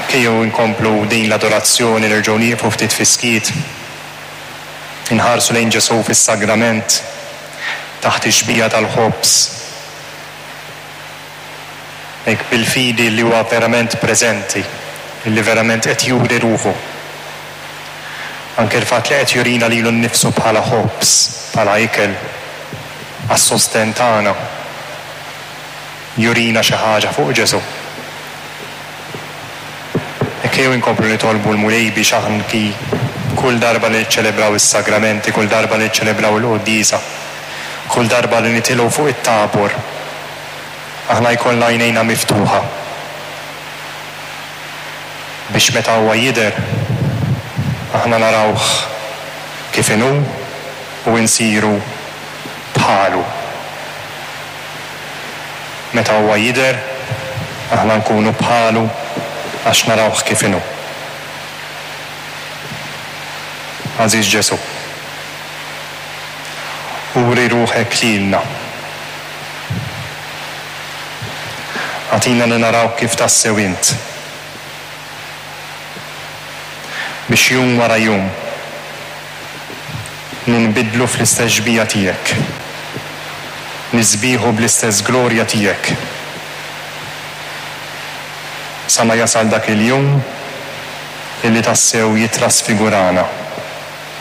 Ejjew inkomplu din l-adorazzjoni, nerġgħu nieqfu ftit fis-skiet, inħarsu lejn Ġesù fis-sagrament, taħt ix-xbieha tal-ħobż, hekk bil-fidi li huwa verament preżenti, li verament qed juri ruħu. Anke l-fatt li qed jurina lilu nnifsu bħala ħobż, bħala ikel għas-sostenn tagħna, jurina xi ħaġa fuq Ġesù. Hekk ejjew inkomplu nitolbu l-Mulej biex anki kull darba li niċċelebraw is-sagramenti, kull darba li niċċelebraw il-quddiesa, kull darba li nitilgħu fuq it-tabor, aħna jkollna għajnejna miftuħa biex meta huwa jidher, aħna narawh kif inhu u nsiru bħalu. Meta huwa jidher, aħna nkunu bħalu għax narawh kif inhu. Għażiż Ġesù, uri ruħek lilna. Agħtina li narawk kif tassew int. Biex jum wara jum ninbidlu fl-istess xbieha tiegħek, nisbieħu bl-istess glorja tiegħek, sa ma jasal dak il-jum illi tassew jittrasfigurana.